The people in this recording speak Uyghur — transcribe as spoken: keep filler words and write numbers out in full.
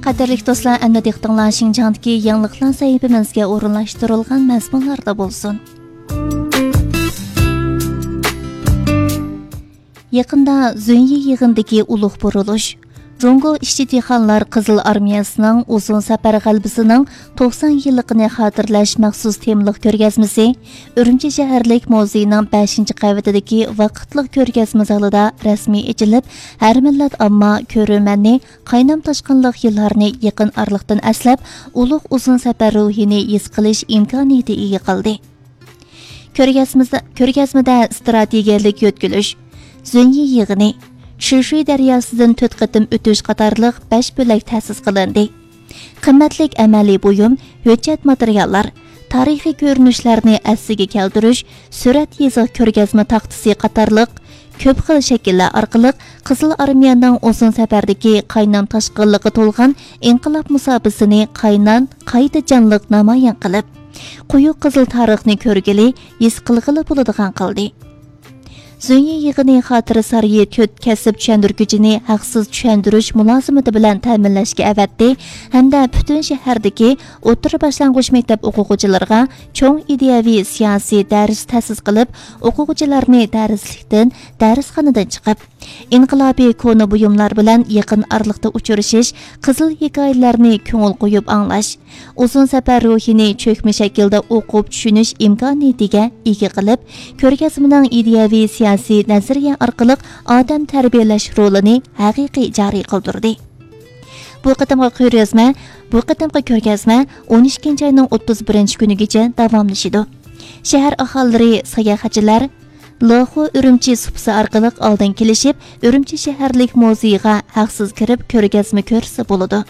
قەدىرلىك دوستلار، ئەمدى دىققىتىڭلار شىنجاڭدىكى يېڭىلىقلار سەھىپىمىزگە ئورۇنلاشتۇرۇلغان مەزمۇنلاردا بولسۇن. يېقىندا زۈنيى يىغىنىدىكى ئۇلۇغ بۇرۇلۇش، جۇڭگو ئىشچى-دېھقانلار قىزىل ئارمىيەسىنىڭ ئۇزۇن سەپەر غەلىبىسىنىڭ توقسان يىللىقىنى خاتىرىلەش مەخسۇس تېمىلىق كۆرگەزمىسى ئۈرۈمچى شەھەرلىك مۇزېينىڭ بەشىنچى قەۋىتىدىكى ۋاقىتلىق كۆرگەزمە زالىدا رەسمىي ئېچىلىپ، ھەر مىللەت ئامما، كۆرۈرمەننى قاينام تاشقىنلىق يىللارنى يېقىن ئارىلىقتىن ئەسلەپ، ئۇلۇغ ئۇزۇن سەپەر روھىنى ھېس قىلىش ئىمكانىيىتى ئىگە قىلدى. كۆرگەزمىسى-، كۆرگەزمىدە ستراتېگىيەلىك يۆتكىلىش، زۈنيى يىغىنى، شۈشۈي دەرياسىدىن تۆت قېتىم ئۆتۈش قاتارلىق بەش بۆلەك تەسىس قىلىندى. قىممەتلىك ئەمەلىي بۇيۇم، ھۆججەت ماتېرىياللار، تارىخىي كۆرۈنۈشلەرنى ئەسلىگە كەلتۈرۈش، سۈرەت يېزىق كۆرگەزمە تاختىسى قاتارلىق كۆپ خىل شەكىللەر ئارقىلىق قىزىل ئارمىيەنىڭ ئۇزۇن سەپەردىكى قاينام تاشقىنلىققا تولغان ئىنقىلاب مۇساپىسىنى قاينام، قايتا جانلىق نامايان قىلىپ، قويۇق قىزىل تارىخنى كۆرگىلى، ھېس قىلغىلى بولىدىغان قىلدى. زۈنيى يىغىنى خاتىرە سارىيى تۆت كەسىپ چۈشەندۈرگۈچىنى ھەقسىز چۈشەندۈرۈش مۇلازىمىتى بىلەن تەمىنلەشكە ئەۋەتتى ھەمدە پۈتۈن شەھەردىكى ئوتتۇرا باشلانغۇچ مەكتەپ ئوقۇغۇچىلىرىغا چوڭ ئىدىيەۋى سىياسىي دەرس تەسىس قىلىپ، ئوقۇغۇچىلارنى دەرسلىكتىن، دەرسخانىدىن چىقىپ، ئىنقىلابىي كونا بۇيۇملار بىلەن يېقىن ئارىلىقتا ئۇچرىشىش، قىزىل ھېكايىلەرنى كۆڭۈل قويۇپ ئاڭلاش، ئۇزۇن سەپەر روھىنى چۆكمە شەكىلدە ئوقۇپ چۈشىنىش ئىمكانىيىتىگە ئىگە قىلىپ، كۆرگەزمىنىڭ ئىدىيەۋى سىياسىي نەزەرىيە ئارقىلىق ئادەم تەربىيەلەش رولىنى ھەقىقىي جارى قىلدۇردى. بۇ قېتىمقى كۆرگەزمە، بۇ قېتىمقى كۆرگەزمە ئون ئىككىنچى ئاينىڭ ئوتتۇز بىرىنچى كۈنىگىچە داۋاملىشىدۇ. شەھەر ئاھالىلىرى، ساياھەتچىلەر لېخۇ ئۈرۈمچى سۇپىسى ئارقىلىق ئالدىن كېلىشىپ، ئۈرۈمچى شەھەرلىك مۇزېيغا ھەقسىز كىرىپ كۆرگەزمە كۆرسە بولىدۇ.